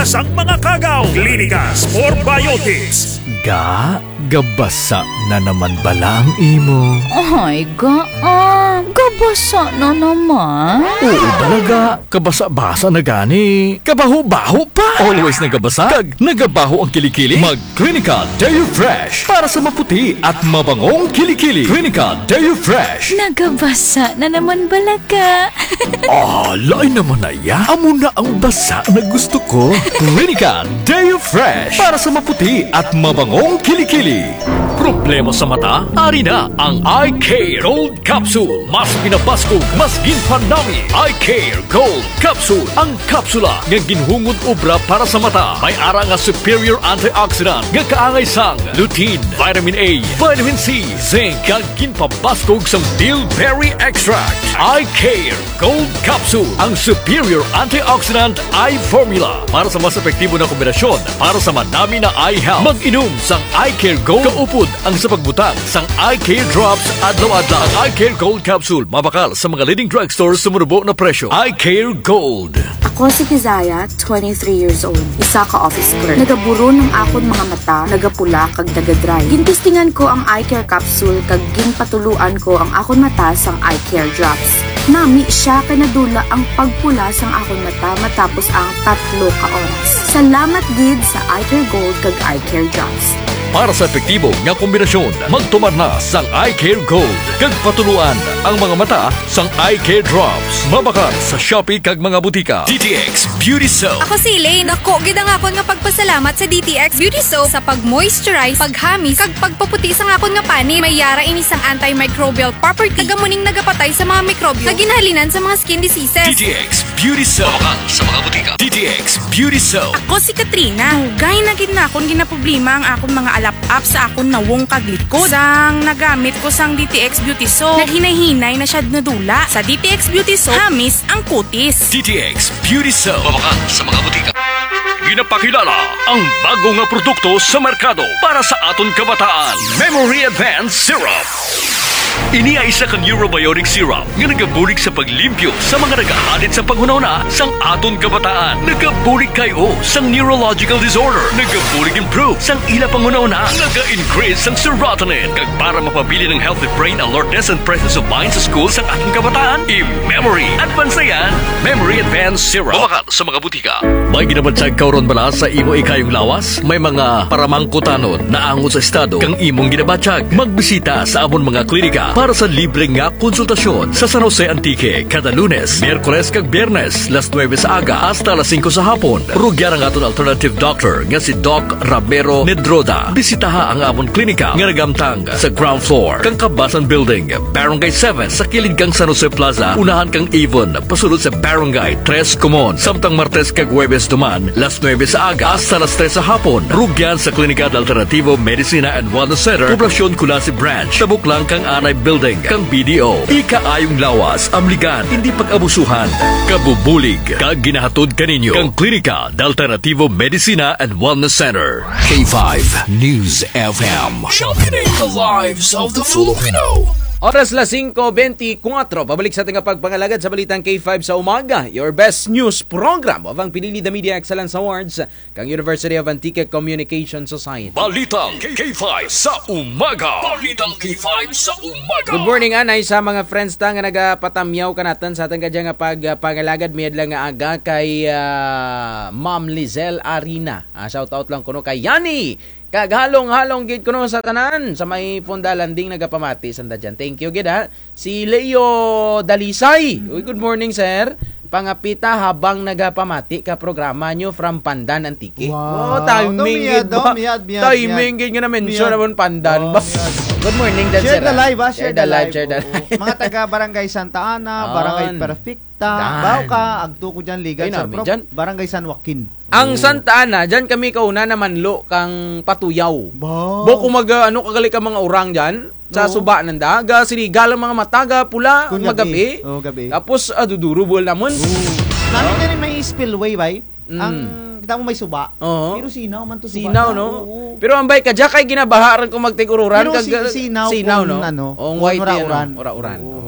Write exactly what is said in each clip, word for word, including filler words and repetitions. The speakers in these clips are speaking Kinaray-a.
sang mga kagaw. Klinika Spore Biotics. Ga, gabasa na naman bala ang imo? Ay, ga, ah, gabasa na naman. Oo, bala ga. Kabasa-basa na gani. Kabaho-baho pa. Always nagabasa. Kag nagabaho ang kilikili. Mag Clinica Deo Fresh para sa maputi at mabangong kilikili. Clinica Deo Fresh. Nagabasa na naman bala ga. Ah, lain naman na ya. Amo na ang basa na gusto ko. Clinica Deo Fresh para sa maputi at mabangong kilikili. Problema sa mata? Ari na ang Eye Care Gold Capsule. Mas pinabaskog, mas ginpanami. Eye Care Gold Capsule. Ang kapsula nga ginhungod obra para sa mata. May ara nga superior antioxidant nga kaangay sang lutein, vitamin A, vitamin C, zinc, kag ginpabaskog sang bilberry extract. Eye Care Gold Capsule, ang superior antioxidant eye formula. Para sa mas epektibo na kombinasyon para sa manami na eye health, mag-inom sang Eye Care Gold kaupod ang sa pagbutang sang Eye Care Drops adlaw-adlaw. Ang Eye Care Gold Capsule mabakal sa mga leading drugstores sa manubo na presyo. Eye Care Gold. Ako si Kizaya, twenty-three years old, isa ka office clerk. Nagaburon ang akon mga mata, nagapula kag nagadry. Gintestingan ko ang Eye Care Capsule kag ginpatuloan ko ang akon mata sang Eye Care Drops. Nami siya kay nadula ang pagpula sang akon mata matapos ang tatlo ka oras. Salamat gid sa Eye Care Gold kag Eye Care Drops. Para sa epektibo nga kombinasyon, magtumar na sang Eye Care Gold kag patuloan ang mga mata sang Eye Care Drops. Mabakal sa Shopee kag mga butika. D T X Beauty Soap. Ako si Elaine. Dako gid ang akon nga pagpasalamat sa D T X Beauty Soap sa pag-moisturize, paghamis, kag pagpaputi sang akon nga panit. May ara ini sang antimicrobial property. Kag amo ning nagapatay sa mga mikrobyo nga ginahalinan sa mga skin diseases. D T X Beauty Soap. Mabakal sa mga butika. D T X Beauty Soap. Ako si Katrina. Dugay na gid nakon ginaproblema ang akon mga alap-ap sa akon nawong kag likod. Sang nagamit ko sang D T X Beauty Soap, naghinay-hinay na siya nadula. Sa D T X Beauty Soap, hamis ang kutis. D T X Beauty Soap. Mabakal sa mga butika. Ginapakilala ang bag-o nga produkto sa merkado para sa aton kabataan. Memory Advance Syrup. Ini ay isa ka neurobiotic syrup nga nagabulig sa paglimpyo sa mga nagahalit sa panghunahuna sang aton kabataan. Nagabulig kay-o sang neurological disorder. Nagabulig improve sang ila panghunahuna. Naga-increase sang serotonin. Kag para mapabilin ang healthy brain alertness and presence of mind sa school sang aton kabataan, i-Memory Advance na yan. Memory Advance Syrup. Mabakal sa mga butika. May ginabatyag ka run bala sa imo ikayong lawas? May mga paramangkutanon naangot sa estado kang imong ginabatyag? Magbisita sa amon mga klinika para sa libre nga konsultasyon sa San Jose, Antique, kada Lunes, Miyerkules kag Biyernes, las nuebe sa aga hasta las singko sa hapon. Rugyan ang aton alternative doctor nga si Doc Ramiro Nedroda. Bisitaha ang amon klinika nga nagamtang sa ground floor kang Kabasan Building, Barangay seven, sa kilid kang San Jose Plaza, unahan kang Avon, pasulod sa Barangay Tres Comon. Samtang Martes kag Huwebes duman, las nuebe sa aga hasta las tres sa hapon, rugyan sa Klinika de Alternativo Medicina and Wellness Center, Poblacion Culasi Branch, tabok lang kang Anay Building kang B D O. Ikaayong lawas, amligan, indi pag-abusuhan. Kabubulig kag ginahatod kaninyo kang Klinika de Alternativo Medicina and Wellness Center. K five News F M. Championing the lives of the Filipino. Oras las singko bentikuwatro. Pabalik sa aton nga pagpangalagad sa Balitang K five sa Umaga, your best news program of ang Pinili the Media Excellence Awards kang University of Antique Communication Society. Balitang K five sa Umaga. Balitang K five sa Umaga. Good morning, anay sa mga friends ta nga nagapatamyaw kanatun sa atun kadya nga pagpangalagad mayad lang nga aga kay, ah, Ma'am Lizelle Arina. Ah, shout out lang kuno kay Yani. Kag halong-halong gid kuno sa tanan sa may Fonda Landing nagapamati sanda dyan. Thank you gid, ha. Si Leo Dalisay. Uy, good morning, sir. Pangapita habang nagapamati ka programa nyo from Pandan, Antique. Wow. Oh, timing gid ba? Timing gid nga na-mention naman Pandan ba? Good morning dyan, sir. Share the live, ha? Share the live, share the live. Mga taga Barangay Santa Ana, Barangay Perfecta, Baoca, agto ko dyan, Ligan, San Roque, Barangay San Joaquin. Ang Santa Ana, dyan kami kauna namanlo kang patuyaw. Ba? Ba, kung mag, ah, ano, kagali ka mga orang dyan, sa suba nanda, ga sirigal ang mga mata, ga pula, magabi. Oo, gabi. Tapos, ah, dudurubol namun. Oo. Nami dyan may spillway, bay. Ang, kita mo may suba. Oo. Pero sinaw man to suba. Sinaw, no? Oo. Pero ambay ka, dyan kay ginabaha rin kung magtigururan, pero kag, sinaw, no? Ang white yan, ura-uran. Oo.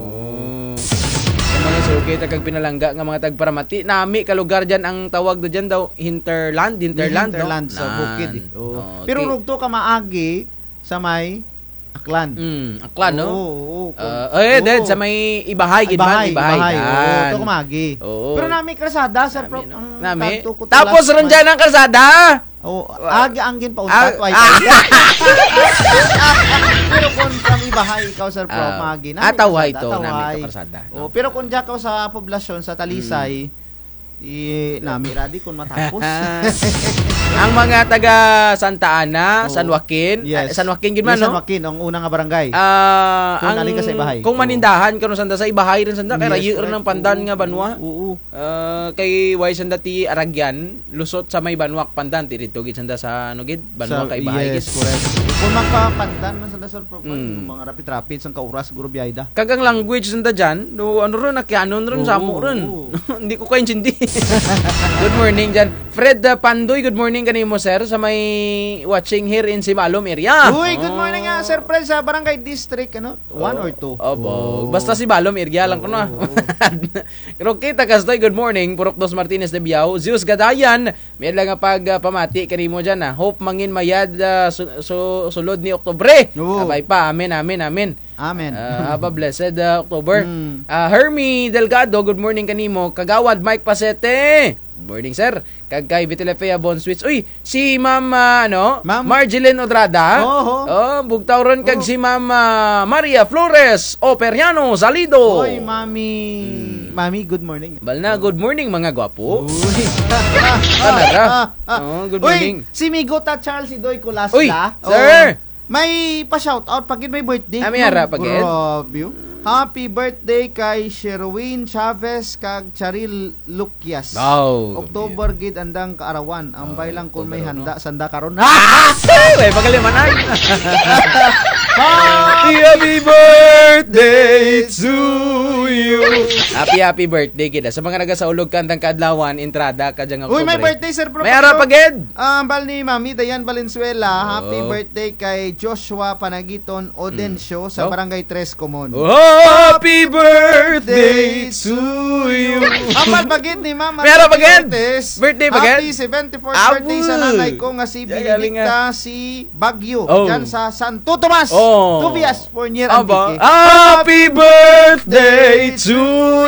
Okay, ta kag pinalangga nga mga tagparamati. Nami ka lugar dyan ang tawag do dyan daw, hinterland, hinterland, no? Hinterland sa bukid, eh. Oo. Okay. Pero rugto ka maagi sa may Aklan. Mm, Aklan, no? Oo, oo, oo. Ah, eh, dad, sa may Ibahay, gid man, Ibahay, Ibahay, Ibahay. Oo, dyan. Rugto ka maagi. Oo. Pero nami kalsada, Sir Prof, no? Nami. Tapos ron dyan ang kalsada. Oh, agi ang ginpauntat, ah, way. Pero kung from Ibahay ikaw, Sir Prof, ah, maagi, nami kalsada, tawhay to, nami to kalsada, no? Oh, pero kung dyan ka sa poblasyon, sa Talisay, mm, di nami ra di kung matapos. Ang mga taga Santa Ana, oo, San Joaquin, yes, ah, San Joaquin gid man, yes, no? San Joaquin, ang una nga barangay. Ah, kung ang, kung manindahan ka ron sanda sa Ibahay ron sanda, kay rayo ron ang pandan nga banwa. Oo, oo. Ah, kay way sanda ti Aragyan, lusot sa may banwa ka pandan, ti didto gid sanda sa, ano gid, banwa ka Ibahay gid. Yes, correct. Kung magpapandan man sanda, Sir Prof, mm, mga rapid-rapid, sang kauras, siguro biyay da. Kag ang language sanda dyan, no, ano ron, Aquianon ron, oo, Samo ron. Oo. Hindi ko kaintindi. Good morning dyan. Fred, ah, Pandoy, good morning kanimo, sir, sa may watching here in Sibalom area. Uy, good morning, ah, Sir Fred, sa Barangay District, ano, one or two. Opo. Oh. Basta Sibalom area lang kuno, ah. Oo, oo. Roquita Castoy, good morning. Purok Dos Martinez de Biao. Zeus Gadayan, may adlaw nga pag, ah, pamati kanimo dyan, ah. Hope mangin mayad, ah, su-, su-, sulod ni Oktubre. Oo. Kabay pa. Amen, amen, amen. Amen. Ah, have a blessed, ah, October. Mm. Ah, Hermie Delgado, good morning kanimo. Kagawad Mike Pasete. Good morning, sir. Kag kay Vitelefea Bon Switch. Uy, si Ma'am, ah, ano? Ma'am Marjeline Odrada. Oho. Oh, bugtaw ron kag si Ma'am, ah, Maria Flores Operiano Salido. Oy, Mami. Mm. Mami, good morning. Bal na, good morning, mga gwapo. Uy. Tana ra. Ah, ah, ah. Oh, good morning. Uy, si Migo ta Charles Idoy Colasla. Uy, sir. Oh. May pa-shoutout pa gid, may birthday. Ah, may ara pa gid? Grabe, oh. Happy birthday kay Sherwin Chavez kag Charil Lucias. Wow. October gid andang kaarawan. Ambay lang kung may handa sanda karon. Ah, October, no? Ay, may pagalimanan. Happy, happy birthday to you. Happy, happy birthday gid. Sa mga nagasaulog ka andang kaadlawan, entrada ka dyan nga October. Uy, may birthday, Sir Prof. May ara pa gid? Ah, ambal ni Mami Dayan Valenzuela, happy birthday kay Joshua Panagiton Odencio sa Barangay Tres Comon. Oh, happy birthday to you. Ambal pa gid ni Ma'am May ara pa gid? Ortiz. Birthday pa gid? Happy seventy-fourth birthday sa nanay ko nga si Benedicta, si Baguio, dyan sa Santo Tomas. Oh. Tobias, four year Antique. Happy birthday to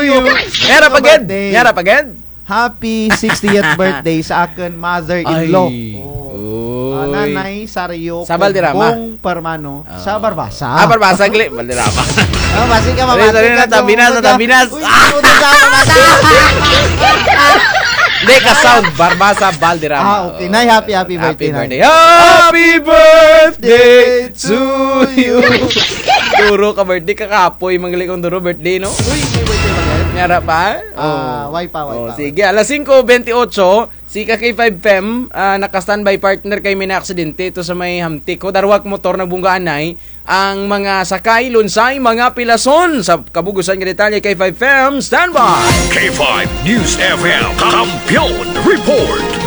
you. May ara pa gid? May ara pa gid? Happy sixtieth birthday sa akun mother-in-law. Ay. Oh. Ah, Nanay Sario Sa Valderrama. Kobong Permano sa Barbasa. Ah, Barbasa, gali. Valderrama. Oh, basi ka, sorry, sorry, mabati ka, natabinas, natabinas. Uy, ah! Hindi, ka-sound. Barbasa, Valderrama. Ah, okay. Nay, happy, happy birthday, Nay. Happy birthday. Happy birthday to you. Duro ka birthday, kakapoy, manggali kong duro birthday, no? Uy, may birthday ba, Nay? May ara pa? Ah, way pa, way pa, way pa. Oh, sige, alas singko bente otso, si ka K five F M, ah, naka-standby partner kay may naaksidente ito sa may Hamtic. Ho, darwa ka motor nagbungga anay, ang mga sakay, lunsay, mga pilason. Sa kabug-usan nga detalye, K five F M, standby. K five News F M, Kampiyon Report.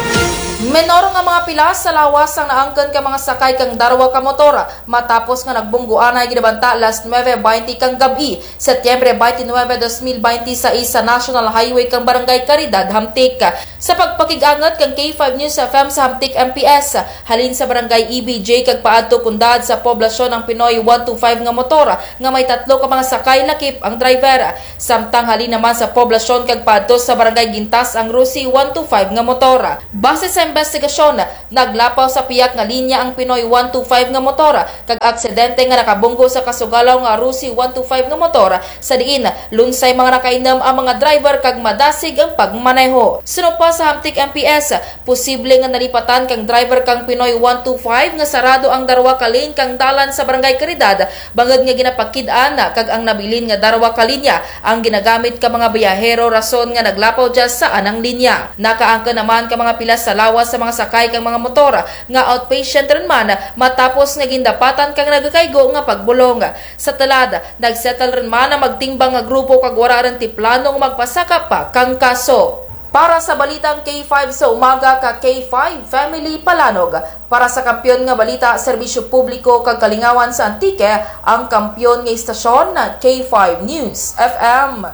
Menor nga mga pilas sa lawas ang naangkun ka mga sakay kang darwa ka motor. Matapos nga nagbunggo anay ginabanta alas nuebe baynte kang gab-i, Setyembre baynte nuebe, dos mil baynte sais, sa National Highway kang Barangay Caridad, Hamtic. Sa pagpakig-angut kang K five News F M sa Hamtic M P S, halin sa Barangay E B J kag paadto kundad sa poblasyon ang Pinoy one two five nga motor nga may tatlo ka mga sakay lakip ang driver. Samtang halin naman sa poblasyon kag paadto sa Barangay Gintas ang Rusi one two five nga motor. Base sa imbestigasyon, naglapaw sa piyak nga linya ang Pinoy one two five nga motor, kag aksidente nga nakabunggo sa kasugalaw nga Rusi one two five nga motor, sa diin lunsay mga nakainum ang mga driver kag madasig ang pagmaneho. Suno pa sa Hamtic M P S, posible nga nalipatan kang driver kang Pinoy one two five nga sarado ang darwa ka lane kang dalan sa Barangay Caridad, bangud nga ginapakid-an kag ang nabilin nga darwa ka linya ang ginagamit ka mga biyahero, rason nga naglapaw dya sa anang linya. Nakaangkun naman ka mga pilas sa lawas sa mga sakay kang mga motor nga outpatient run man matapos nga gindapatan kang nagakaygo nga pagbulong. Sa tulad, nagsettle run man ang magtimbang nga grupo kag wara run ti plano nga magpasaka pa kang kaso. Para sa balitang K five sa umaga ka K five Family Palanog, para sa kampiyon nga balita, serbisyo publiko kag kalingawan sa Antique, ang kampiyon nga istasyon, K five News F M.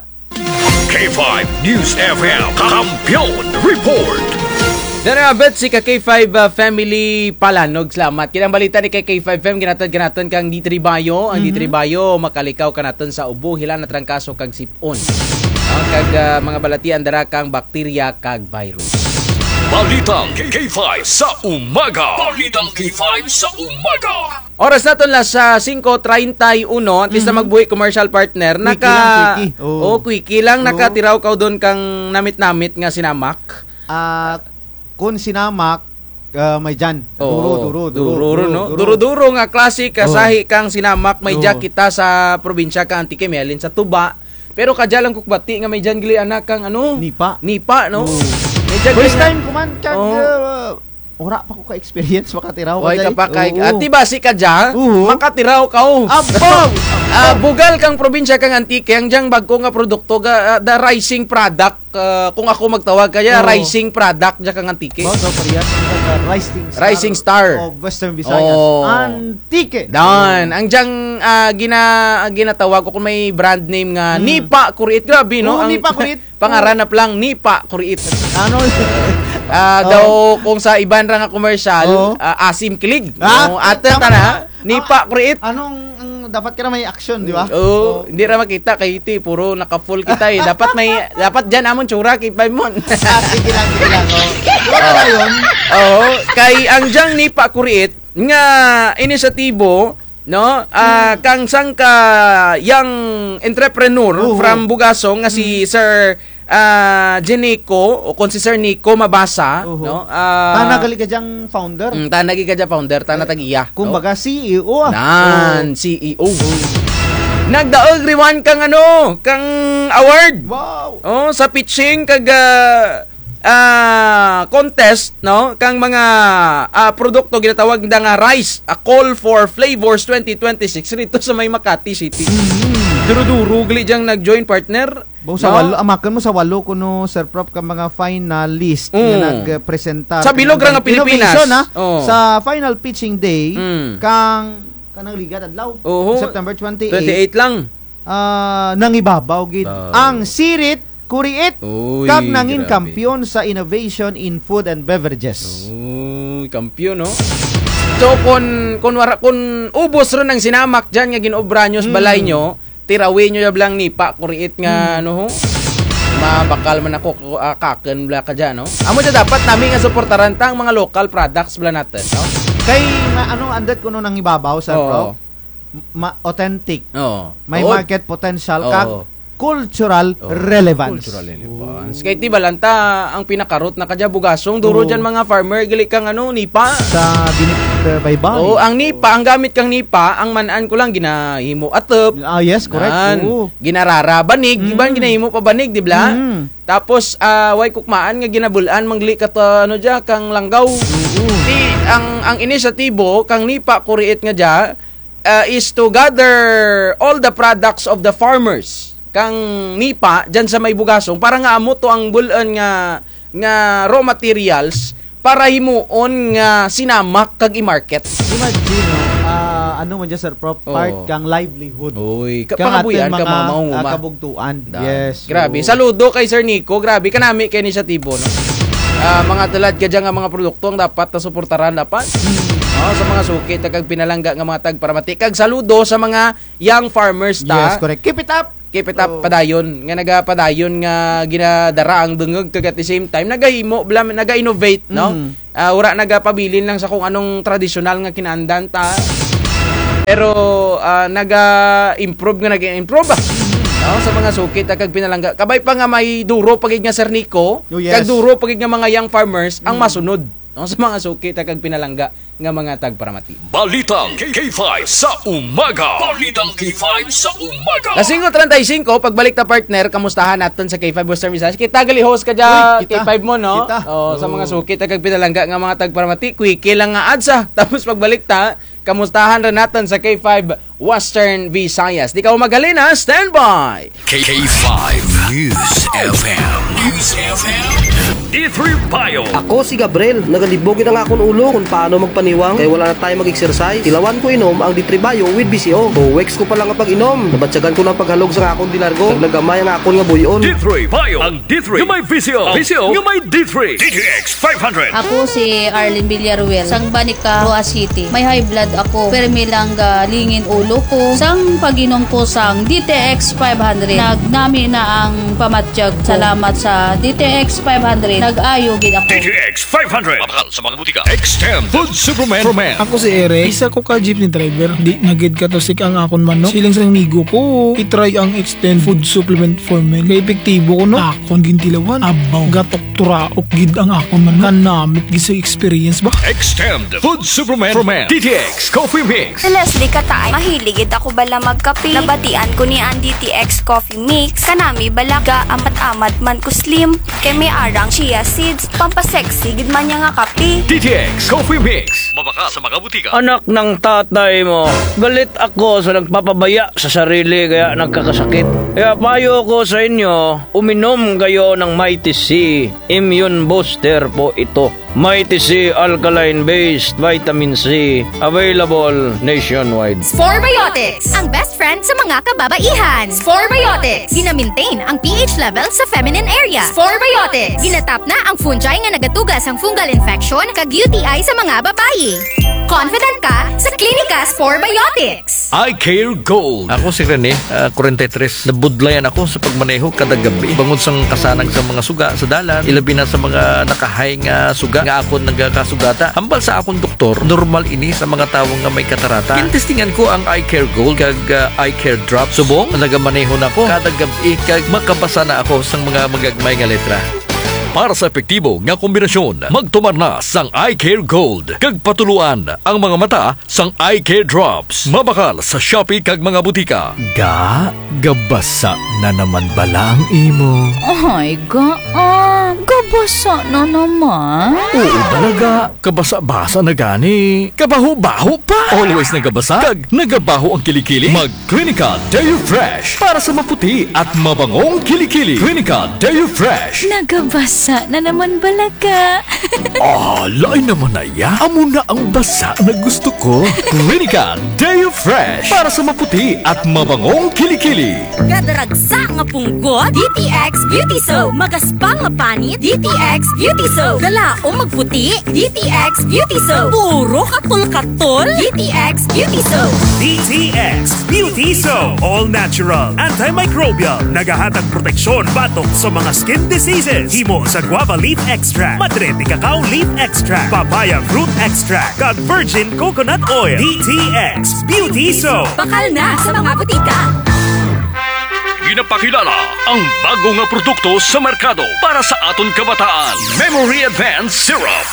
K five News F M Kampiyon Report. Dara, abot si ka K five, ah, family Palanog, salamat. Kay ang balita ni ka K five F M, ginhatod kanatun kang D three Bio. Ang D three Bio, makalikaw kanatun sa ubo, hila na trangkaso kag sip-on. Ah, kag, ah, mga balatian dara kang bakterya kag virus. Balitang K five sa umaga. Balitang K five sa umaga. Oras natun las, ah, singko treinta y uno, antes na magbuhi commercial partner, naka-, quickie lang, quickie. Oo. Oh, quickie lang, oo. Nakatiraw kaw dun kang namit-namit nga sinamak? Ah, kun sinamak, ah, may dyan. Oo. Duro, duro, duro, duro, no? Duro, duro nga klase, kasahi kang sinamak, may dya kita sa probinsya kang Antique, may halin sa tuba. Pero kadya lang ko kabati nga may dyan gali ana kang ano? Nipa. Nipa, no? Oo. May dyan gali ana. First time ko man kag, ah, Wara pa ko ka-experience makatiraw. Way ka pa kay, oo. Ati basi kadya, makatiraw kaw. Abaw! Ah, bugal kang probinsya kang Antique, ang dyang bag-o nga produkto, ga-, ah, the rising product, ah, kung ako magtawag kadya, rising product dya kang Antique. Baw, daw parehas ang, ah, rising star of Western Visayas. Oo. Antique. Dan, ang dyang, ah, gina-, ginatawag ko kung may brand name nga, Nipa Kuriit. Grabe, no? Oo, ang Nipa Kuriit. Pangaran na palang Nipa Kuriit. Ano? Ah, daw kung sa iban ra nga commercial, ah, asim kilig. Ah, no, atun tana, Nipa Kuriit. Anong, ang dapat ka na may action, di ba? Oo, hindi ra makita kay iti, puro naka-full kita eh. Dapat may, dapat dyan amon tsura kay Paimon. Ah, sige lang, sige lang, oh. Wala na yun. Oo, kay ang dyang Nipa Kuriit nga inisyatibo, no? Ah, kang sangka young entrepreneur from Bugasong nga si Sir, ah, Jenico, o kung si Sir Nico Mabasa, no? Ah, tana gali ka dyang founder. Mm, tana gali ka dyang founder, tana tag-iya, no? Kumbaga, C E O, ah. Nan, C E O. Nagdaog run kang ano, kang award. Wow. Oh, sa pitching kag, ah, ah, contest, no? Kang mga, ah, produkto ginatawag nanda nga Rise, A Call for Flavors twenty twenty-six rito sa may Makati City. Mm. Duro-duro gali dyang nag-join, partner. Baw sa walo, amakun mo sa walo kuno, Sir Prof, ka mga finalist nga nagpresentar. Sa bilog ra nga Pilipinas. Innovation, ha? Oo. Sa final pitching day, kang, kanang ligad adlaw, September twenty-eight. Twenty-eight lang. Ah, nangibabaw gid ang Sirit Kuriit kag nangin kampiyon sa innovation in food and beverages. Uy, kampiyon, no? So, kun, kun wara, kun ubos run ang sinamak dyan nga gin-obra nyo sa balay nyo, tirawi nyo dya bala ang Nipa Kuriit nga, ano, ho? Mabakal man ako, ah, kakun bala kadya, no? Amo dya dapat nami nga suportaran ta ang mga local products bala natun, no? Kay nga, ano, andut kuno nangibabaw, Sir Prof? Ma-, authentic. Oo. May market potential kag cultural relevance. Cultural relevance. Kay ti bala ta ang pinaka-root na kadya Bugasong, duro dyan mga farmer, gali kang ano, Nipa. Sa Binit, uh, Baybay. Oo, ang Nipa, ang gamit kang Nipa, ang man-an ko lang, ginahimo atup. Ah, yes, correct. Oo. Ginarara banig, iban ginahimo pa banig, di bala? Mm. Tapos, ah, way ko kamaan nga ginabul-an, man gali kata, ano dya, kang langgaw. Oo. Ti, ang, ang inisyatibo, kang Nipa Kuriit nga dya, ah, is to gather all the products of the farmers kang Nipa dyan sa may Bugasong para nga amo to ang bul-an nga, nga raw materials para himuon nga sinamak kag i-market. Imagine, no? Ah, ano man dyan, Sir Prof, part kang livelihood. Uy, ka-, kang pangabuhian atun kang mga, mga mangunguma. Ah, kabugtuan. Yes. Grabe. Oo. Saludo kay Sir Nico. Grabe, kanami kay inisyatibo, no? Ah, mga tulad kadya nga mga produkto ang dapat na suportaran dapat. Hmm. Oh, sa mga suki ta kag pinalangga nga mga tagparamati. Kag saludo sa mga young farmers ta. Yes, correct. Keep it up. Keep it up, padayon. Nga nagapadayon nga ginadara ang dungog kag at the same time, nagahimo, bala, naga-innovate, no? Mm. Ah, wara nagapabilin lang sa kung anong tradisyonal nga kinaandan ta. Pero, ah, naga-improve nga naga-improve, ah. No? Sa mga suki ta kag pinalangga. Kabay pa nga may duro pa gid nga Sir Nico, kag duro pa gid nga mga young farmers ang masunod, no? Sa mga suki ta kag pinalangga nga mga tagparamati. Balitang K five sa umaga. Balitang K five sa umaga. Las singko treinta y cinco, pagbalik ta, partner, kamustahan natun sa K five Western Visayas. Kita gali host kadya, K five mo, no? Kita. Oh, sa mga suki ta kag pinalangga nga mga tagparamati, quickie lang nga ads, ah. Tapos pagbalik ta, kamustahan run natun sa K five Western Visayas. Di kaw maghalin, ha? Standby! K five News F M. News F M. D three Bio. Ako si Gabriel, nagalibog gid ang akon ulo kon paano magpaniwang kay wala na tayo mag-exercise. Tilawan ko inom ang D three Bio with B C O. Two weeks ko pa lang nga pag-inom, nabatyagan ko na ang paghalog sa akon delargo. Nagnagamay ang akon nga buy-on. D three Bio. Ang D three nga may V C O. V C O nga may D three. D T X five hundred. Ako si Arlene Villaruel, sang Banica, Roxas City. May high blood ako. Permi lang galingin ulo ko. Sang pag-inom ko sang D T X five hundred, nagnami na ang pamatyag ko. Salamat sa D T X five hundred, nag-ayo gid ako. D T X five hundred. Mabakal sa mga butika. Extend Food Supplement for Men. Ako si Eric. Isa ko ka jeepney driver. Di na gid katusik ang akon manok. Siling sang migo ko, i-try ang Extend Food Supplement for Men. Kay epektibo kuno. Akon gintilawan. Abaw. Gatok turaok gid ang akon manok. Kanamit gid sa experience ba? Extend Food Supplement for Men. D T X Coffee Mix. Si Leslie Kataay, mahilig gid ako bala magkape. Nabatian ko ni ang D T X Coffee Mix. Kanami bala, gaamat-amat man ko slim. Kay may arang chia seeds, pampasexy gid man niya nga kape. D T X Coffee Mix. Mabakal sa mga butika. Anak ng tatay mo, galit ako sa nagpapabaya sa sarili kaya nagkakasakit. Kaya payo ko sa inyo, uminom kayo ng Mighty C. Immune booster po ito. Mighty C alkaline-based vitamin C, available nationwide. Sporebiotics, ang best friend sa mga kababaihan. Sporebiotics, gina-maintain ang pH level sa feminine area. Sporebiotics, ginatap na ang fungi nga nagatuga sang fungal infection kag U T I sa mga babayi. Confident ka sa Clinica Sporebiotics. Eye Care Gold. Ako si Rene, ah, kwarenta y tres. Nabudlayan ako sa pagmaneho kada gabi. Bangod sang kasanag sa mga suga sa dalan, ilabi na sa mga nakahay nga suga nga akon nagakasugata. Hambal sa akon doktor, normal ini sa mga tawo nga may katarata. Gintestingan ko ang Eye Care Gold kag, ah, Eye Care Drop. Subong, nagamaneho na ako kada gab-i kag makabasa na ako sang mga magagmay nga letra. Para sa epektibo nga kombinasyon, magtumar na sang Eye Care Gold kag patuloan ang mga mata sang Eye Care Drops. Mabakal sa Shopee kag mga butika. Ga, gabasa na naman bala ang imo? Ay, ga, ah, gabasa na naman? Oo bala, ga. Kabasa-basa na gani. Kabaho-baho pa. Always nagabasa kag nagabaho ang kilikili? Mag Clinica Deo Fresh para sa maputi at mabangong kilikili. Clinica Deo Fresh. Nagabasa na naman bala, ga. Ah, lain naman na ya. Amo na ang basa na gusto ko. Clinica Deo Fresh para sa maputi at mabangong kilikili. Kada ragsa nga punggot, D T X Beauty Soap. Magaspang nga panit, D T X Beauty Soap. Galaom magputi, D T X Beauty Soap. Puro katol-katol, D T X Beauty Soap. D T X Beauty Soap. All natural, antimicrobial. Nagahatag proteksyon batok sa mga skin diseases. Himo sa guava leaf extract, madre de cacao leaf extract, papaya fruit extract, kag virgin coconut oil. D T X Beauty Soap. Bakal na sa mga butika. Ginapakilala ang bago nga produkto sa merkado para sa aton kabataan, Memory Advance Syrup.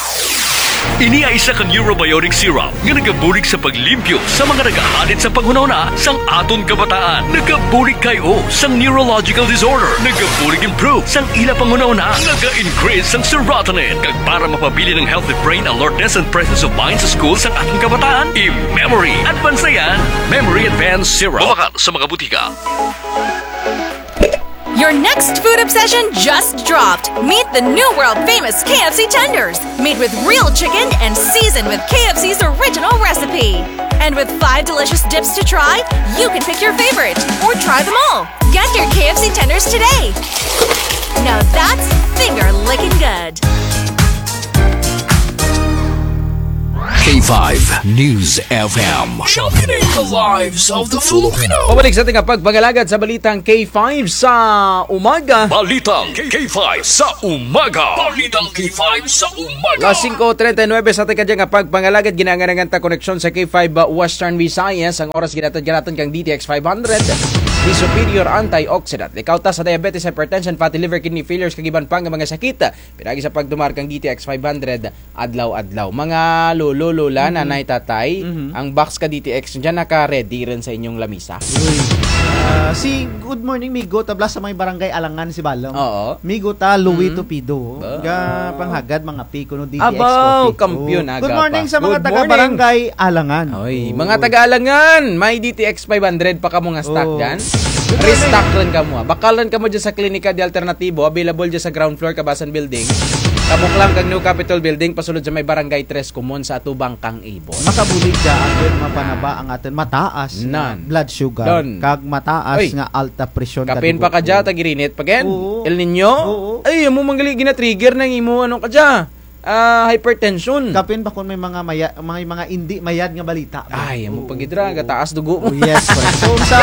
Ini ay isa ka neurobiotic syrup nga nagabulig sa paglimpyo sa mga nagahadit sa panghunahuna sang aton kabataan. Nagabulig kay-o sang neurological disorder. Nagabulig improve sang ila panghunahuna. Naga-increase sang serotonin. Kag para mapabilin ang healthy brain alertness and presence of mind sa school sang aton kabataan, i-Memory Advance na yan. Memory Advance Syrup. Mabakal sa mga butika. Your next food obsession just dropped. Meet the new world famous K F C tenders, made with real chicken and seasoned with K F C's original recipe. And with five delicious dips to try, you can pick your favorite or try them all. Get your K F C tenders today. Now that's finger licking good. K five News F M. Sharpening the lives of the Filipino. Pabalik sa ating pagpangalagad sa balitang K five sa umaga. Balitang K five sa umaga. Balitang K five sa umaga. Alas singko treinta y nuebe sa ating kadyang pagpangalagad, ginaangan-angan ta koneksyon sa K five Western Visayas. Ang oras ginatad-ginatad kang D T X five hundred. Di superior antioxidant. Likaw ta sa diabetes, hypertension, fatty liver, kidney failures, kag iban pa nga mga sakit. Pinaagi sa pagtumar kang D T X five hundred adlaw-adlaw. Mga lolo, lola, nanay, tatay, ang box ka D T X dyan naka-ready run sa inyong lamisa. Uy. Ah, si, good morning, migo. Tabla sa may barangay Alangan si Balong. Oo. Migo ta, Louie Tupido. Ga panghagad, mga pi, kuno D T X Abaw, coffee. Kampiyon, aga pa. Good morning sa mga taga-barangay Alangan. Oy, mga taga-Alangan, may D T X five hundred pa kamo nga stock dyan. Restock run kamo, ah. Bakal run kamo dyan sa Klinika de Alternatibo, available dyan sa ground floor, Kabasan Building. Kabuklang kang New Capitol Building, pasulod sa may Barangay Tres Comon sa Atubang kang Ibon. Makabulig dya atun mapanaba ang atun mataas nga Nan. Blood sugar, Nan. Kag mataas Oy. Nga alta presyon. Kapin pa ka dya, tag-irinit pa gid. Oo. El Niño? Oo. Ay, amo man gali gina-trigger nang imo, ano ka dya? Ah, hypertension. Kapin pa kon may mga maya-, may mga indi mayad nga balita. Ay, amo pa gid ra, gataas dugo mo. Oh, yes, correct. So, sa,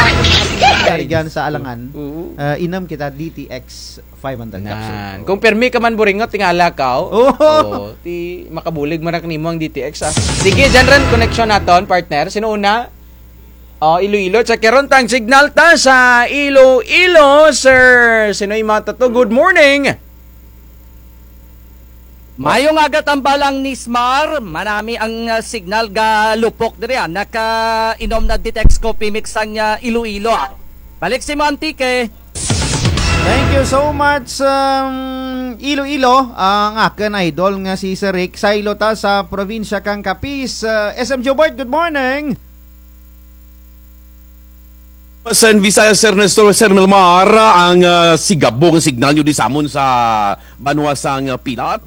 sa alangan, ah, inom kita D T X five hundred capsule. Nan. Kon pirmi ka man buringot, tingala ka, o. Oo. O, ti makabulig man ra kanimo ang D T X, ah. Sige, dyan ra ang connection naton, partner. Sin-o una? O, Iloilo. Check karon ta ang signal ta sa Iloilo, sir. Sin-o man to? Good morning. Maayong aga tambalang Nismar, manami ang, ah, signal galupok diri, ah. Nakainom na D T X Coffee Mix ang, ah, Iloilo, ah. Balik sa imo, Antique. Thank you so much, um, Iloilo. Ang akun idol nga si Sir Rick, saylo ta sa probinsya kang Capiz. Uh, S M Jobert, good morning. Sen Visayas, Sir Nestor, Sir Milmar, ang, ah, sigabo nga signal nyo di sa amun sa banwa sang, ah, Pilar.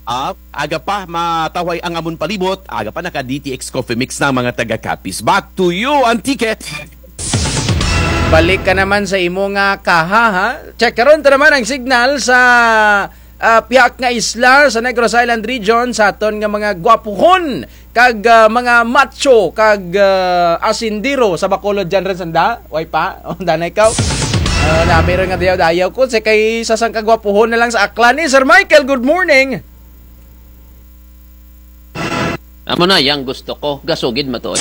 Ah, aga pa, matawhay ang amun palibot, aga pa naka D T X Coffee Mix na ang mga taga Capiz. Back to you, Antique. Balik ka naman sa imo nga kaha, ha? Check karon ta naman ang signal sa, ah, pihak nga isla sa Negros Island Region, sa aton nga mga gwapuhon kag, ah, mga macho kag, ah, asindero sa Bacolod dyan rin sanda. Way pa? O, danay kaw. Ah, nami rin nga dayaw-dayaw ko. Si kay sa sang kagwapuhon na lang sa Aklan ni Sir Michael, good morning. Amo na yang gusto ko, gasugid matuod.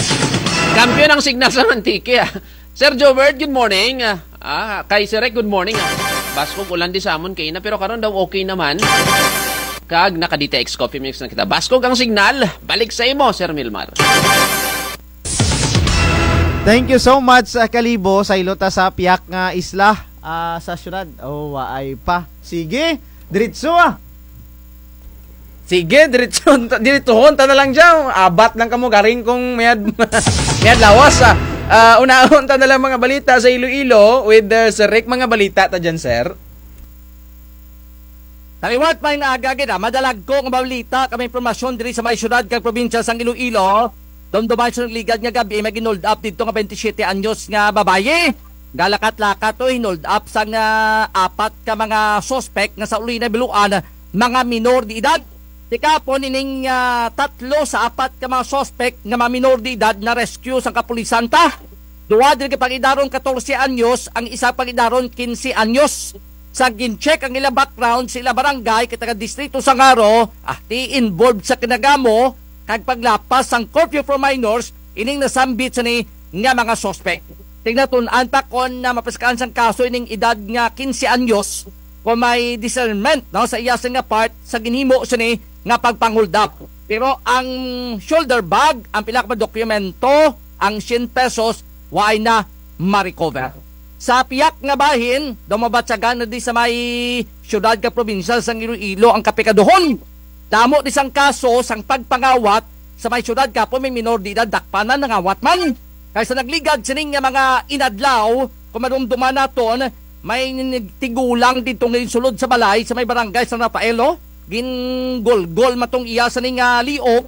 Kampiyon ang signal sa Antique, ah. Sir Jobert, good morning. Ah, ah, kay Sir Rick, good morning, ah. Baskog ulan di sa amun kaina, pero karon daw okay naman. Kag naka D T X Coffee Mix na kita. Baskog ang signal, balik sa imo, Sir Milmar. Thank you so much, ah, Kalibo. Saylo ta sa pihak nga isla, ah, sa syudad. O, waay pa. Sige, diretso, ah. Sige, diretso, diretsohon ta na lang dyan. Abat lang kamo, garing kung mayad, mayad lawas, ah. Ah, unahon ta na lang mga balita sa Iloilo with, uh, Sir Rick. Mga balita ta dyan, sir. Taliwat, may naaga gid, ah. Madalagko nga balita kag impormasyon diri sa may syudad kag probinsya sang Iloilo. Dumduman sa nagligad nga gabii, may gin-hold up didto nga twenty-seven anyos nga babayi. Galakat-lakat to, hin-hold up sang, ah, apat ka mga suspek nga sa uli nahibaluan, mga minor de edad. Ti kahapon ining, ah, tatlo sa apat ka mga suspek nga mga minor de edad na-rescue sang kapulisan ta. Duha diri ka pag-edaron katorse anyos, ang isa pag-edaron kinse anyos. Sa gin-check ang ila background sa ila barangay, kay taga distrito sang Jaro, ah, ti involved sa kinagamo kag paglapas sang curfew for minors ining nasambit sini nga mga suspek. Ti ginatun-an pa kon, ah, mapiskahan sang kaso ining edad nga kinse anyos kon may discernment, no, sa iya sini nga part sa ginhimo sini nga pagpang-hold up. Pero ang shoulder bag, ang pila ka mga dokumento, ang syen pesos, waay na ma-recover. Sa pihak nga bahin, daw mabatyagan na di sa may syudad kag probinsya sang Iloilo ang kapikaduhon. Damo di sang kaso sang pagpangawat sa may syudad, kahapon may minor de edad dakpan na nangawat man. Kay sa nagligad sini nga mga inadlaw, kon madumduman naton, may nin-, tigulang didto nga ginsulod sa balay sa may barangay San Rafael, o. Gingulgol man tong iya sini nga liog,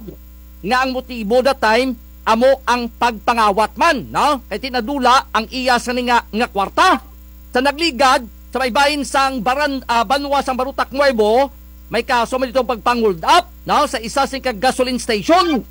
nga ang motibo that time, amo ang pagpangawat man, no? Kay ti nadula ang iya sini nga, nga kwarta. Sa nagligad, sa may bahin sang baran-, ah, banwa sang Barotac Nuevo, may kaso man didto pagpang-hold up, no? Sa isa sini ka gasoline station.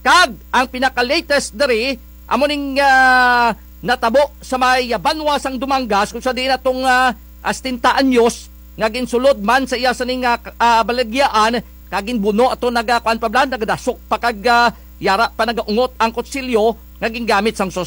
Kag ang pinaka-latest diri, amo ning, ah, natabo sa may, ah, banwa sang Dumangas, kon sa diin atong, ah, ah, setenta anyos nga ginsulod man sa iya sini nga, ah, balagyaan, kag ginbuno ato, naga-, kuan pa bala, nagadasok pa kag, ah, yara pa nagaungot ang kutsilyo nga gingamit sang suspek.